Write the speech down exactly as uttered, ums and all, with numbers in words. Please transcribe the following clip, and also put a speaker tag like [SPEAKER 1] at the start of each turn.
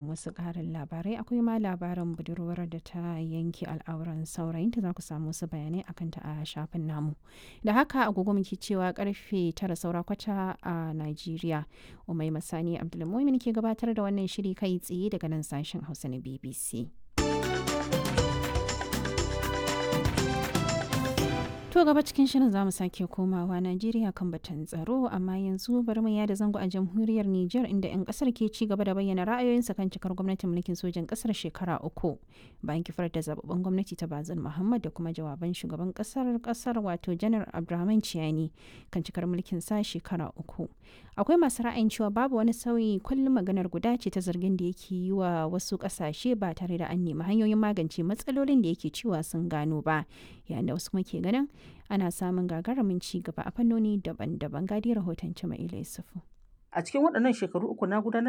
[SPEAKER 1] Wasu ƙarin labarai akwai ma labarin budurwar da ta yanke al'auran saurayinta, za ku samu wasu bayanai akan ta a shafin namu. Da haka agogo muke cewa karfe tara saura kwata a Najeriya. Umai Masani Abdulmumin ke gabatar da wannan shiri kai tsaye daga nan sashen Hausa na B B C. To, gaba cikin shirin za mu sake komawa Najeriya kan batun tsaro, amma yanzu bari mu yada zango a jamhuriyar Nijar, inda 'yan kasar ke ci gaba da bayyana ra'ayoyinsu kan cikar gwamnatin mulkin sojan kasar shekara uku bayan kifar da zababben gwamnati ta Bazin Muhammad da kuma jawaban shugaban kasar kasar wato Janar Abdurrahman Chiani kan cikar mulkin sa shekara uku. Akwai masu ra'ayin cewa babu wani sauyi, kullum maganar guda ce ta zargin da yake yi wa wasu kasashe ba tare da an nemi hanyoyin magance matsalolin da yake cewa sun gano ba, yayin da wasu kuma ke ganin ana samun gagarumin ci gaba a fannoni daban-daban. Gadi rahoton Cima'ila Yusufu.
[SPEAKER 2] A cikin waɗannan shekaru uku na gudanar